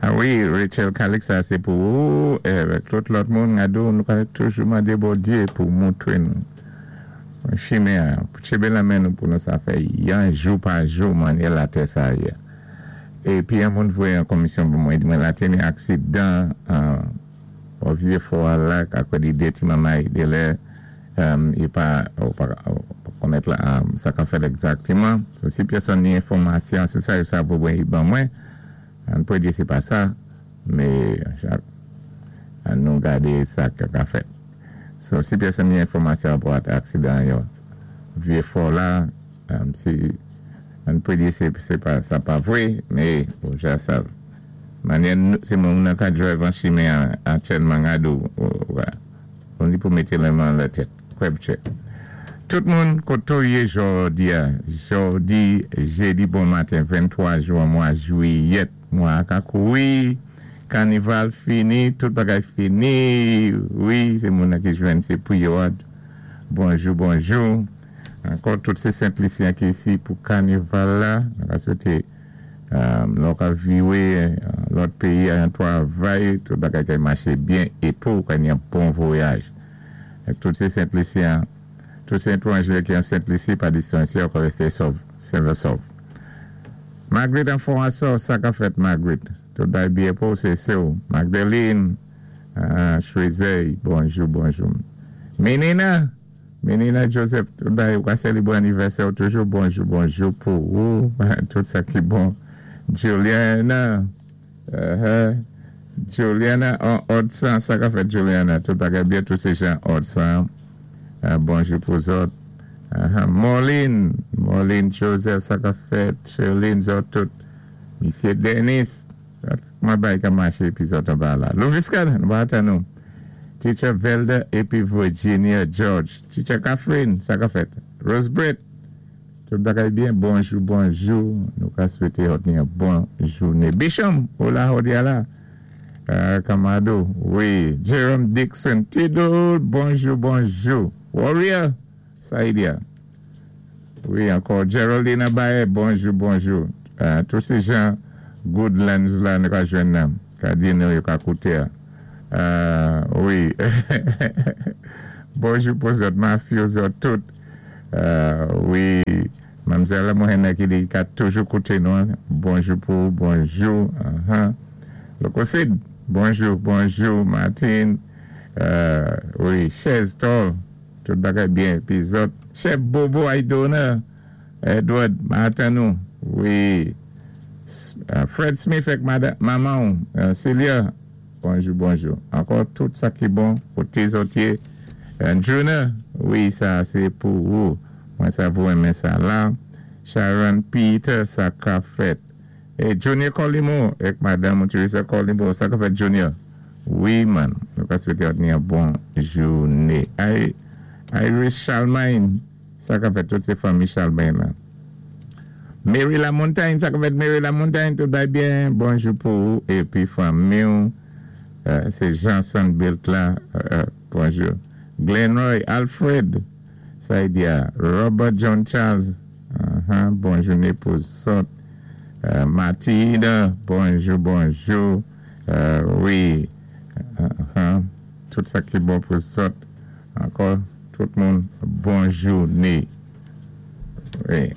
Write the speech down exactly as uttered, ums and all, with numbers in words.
Ah wi, Rachel Calix, sa sé pou ou, avèk tout lòt moun, gado, nou ka toujou mandé Bondyé pou moutwé nou. Chimen, pou tjenbé lanmen nou pou nou sa fè yon jou pa jou mannyè latè sa yé. Épi yon moun voyé an komisyon pou mwen, di mwen latè ni aksidan, au Vieux Fort la, akò di dé ti manmay de lè, i pa, ou pa, konnèt la, sa ka fèt egzaktéman. So, si pèsonn ni enfòmasyon sou sa, sa pou mwen, ban mwen, an pé di sé pa sa, mé an nou gadé sa ka ka fèt. So, si pèsonn ni enfòmasyon about aksidan yo, Vieux Fort la, um, si an pé di sé, sé pa, sa pa vwé, mé, ou ja sav. Mannyè, sé moun nan ka drive an chimen aktyèlman gado, ou, on di pou mété lanmen la tèt. Kwèvtchè. Tout moun koto yé jòdi a, jòdi, jédi bon maten, venntwa jwen, mwa jwiyèt, mwa ka koui, kanival fini, tout bagay fini, wi, sé moun ki jwenn sé pou yo. Bonjou, bonjou. Ankò tout sé Sent Lisyen ki isi pou kanival la, nou ka swété lò ka viwé lòt péyi an twavay, tout bagay ka maché byen é pou ka ni yon bon vwayaj. Tout sé Sent Lisyen, tout sé étwanjé ki an Sent Lisi pa distansye, ankò résté sov, sen é sov. Margaret an Fon sa ka fèt, Margaret? Tout bagay byen pou sé sé ou. Magdalene, uh, Chouezey, bonjou, bonjou. Menina, Menina Joseph, tout bagay, ou ka sélébwé anivèsè toujou, bonjou, bonjou pou ou, tout sa ki bon. Juliana, uh, Juliana Odsan, sa ka fèt, Juliana? Tout bagay byen, tout sé jan Odsan, uh, bonjou pou zòt. Uh, Moline, Moline Joseph, sa ka fèt? Sherline, zòt tout. Misyé Dennis, mwen bay ka maché épi zòt an ba la. Louviscal, nou ba atan nou. Teacher Velda épi Virginia George. Teacher Catherine, sa ka fèt? Rose Brett, tout bagay byen, bonjou, bonjou. Nou ka swété zòt ni yon bon jouné. Bisham, ou la jòdi a la. Uh, Kamado, wi. Jerome Dixon, Tidou, bonjou, bonjou. Warrior, Saïdia. Wi, ankò Geraldine Abaye, bonjou, bonjou. Uh, tout sé jan Goodlands la, nou ka jwenn nan. Ka di nou yo ka kouté. Uh, wi. Bonjou pou zòt, mafyo zòt tout. Uh, wi. Manmzèl mwen ki di ka toujou kouté nou. Bonjou pou, bonjou. Uh -huh. Lokosid, bonjou, bonjou, Martin. Uh, wi, Chez Tol, tout bagay byen. Pi zòt, Chef Bobo Aidona, Edward, Martin nou, wi. Uh, Fred Smith ak maman, uh, Celia, bonjou, bonjou. Ankò tout sa ki bon pou zòt yé. Uh, Juna, wi, sa sé pou ou. Mwen sa vou renmen sa la. Sharon Peter, sa ka fèt? É Junior Colimo, ak madanm Teresa Colimo, sa ka fèt, Junior? Wi, man. Nou ka swété yon bon jouné. Iris Charlemagne, sa ka fèt? Tout sé fanmi Charlemagne la. Mary La Montagne, sa ka fèt, Mary La Montagne? Tout bagay byen. Bonjou pou ou épi fanmi. Euh, sé Jean Sandbilt la. Euh, bonjou. Glenroy Alfred, sa di Robert John Charles. Uh -huh, bon jouné pou zòt. Euh, Mathilde, bonjou, bonjou. Euh, wi. Uh -huh. Tout sa ki bon pou zòt. Ankò, tout moun, bon jouné. Wi.